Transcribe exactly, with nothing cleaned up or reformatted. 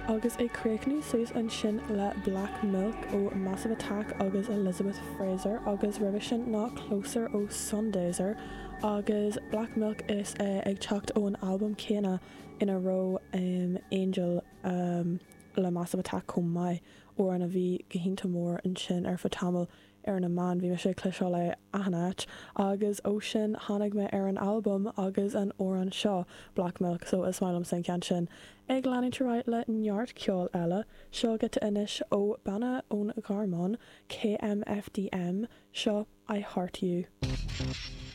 Agus ag críochnú suas ansin le Black Milk ó Massive Attack agus Elizabeth Fraser agus roimhe sin ná Closer ó Sundazer agus Black Milk is uh, ag teacht ón albam céanna ina raibh um, Angel um, le Massive Attack chomh maith amhrán a bhí go hiontach mór ansin ar feadh tamaill ar na meáin bhí sé cloisteáil le achan áit agus ó sin tháinig mé ar an albam agus an amhrán seo Black Milk so is maith liom an ceann sin. Ag leanúint le neart ceol eile seo giota anois ó banna ón Ghearmáin KMFDM seo I Heart You.